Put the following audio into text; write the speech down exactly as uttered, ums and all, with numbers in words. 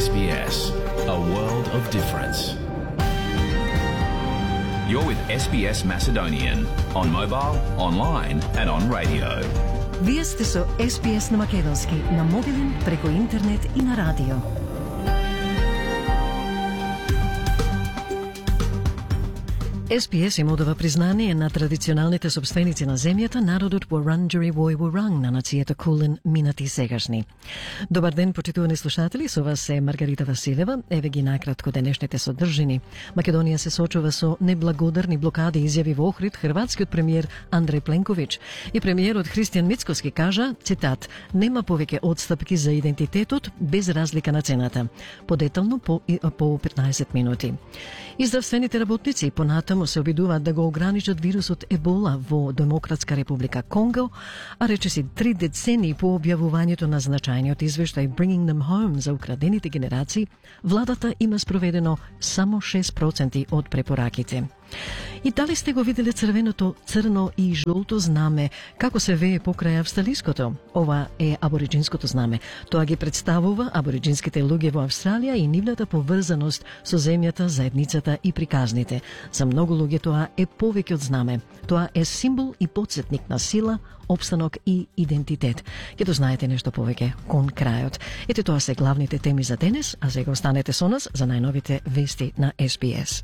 S B S, a world of difference. You're with S B S Macedonian on mobile, online and on radio. Вие сте со С Б С на македонски, на мобилен, преку интернет и на радио. С Б С им одава признание на традиционалните собственици на земјата, народот Wurundjeri Woi Wurrung на нацијата Кулен, минати и сегашни. Добар ден, почитувани слушатели, со вас е Маргарита Василева. Еве ги накратко денешните содржини. Македонија се сочува со неблагодарни блокади, изјави во Охрид хрватскиот премиер Андреј Пленковиќ. И премиерот Христијан Мицкоски кажа, цитат, нема повеќе одстапки за идентитетот без разлика на цената. Подетално по, по петнаесет минути. И здравствените работници понатаму се обидуваат да го ограничат вирусот Ебола во Демократска република Конго, а речиси три децении по објавувањето на значајниот извештај Bringing Them Home за украдените генерации, владата има спроведено само шест проценти од препораките. И дали сте го виделе црвеното, црно и жолто знаме, како се вее покрај австралиското? Ова е абориджинското знаме. Тоа ги представува абориджинските луѓе во Австралија и нивната поврзаност со земјата, заедницата и приказните. За многу луѓе тоа е повеќе од знаме. Тоа е символ и потсетник на сила, опстанок и идентитет. Ќе дознаете нешто повеќе кон крајот. Ете, тоа се главните теми за денес, а сега останете со нас за најновите вести на С Б С.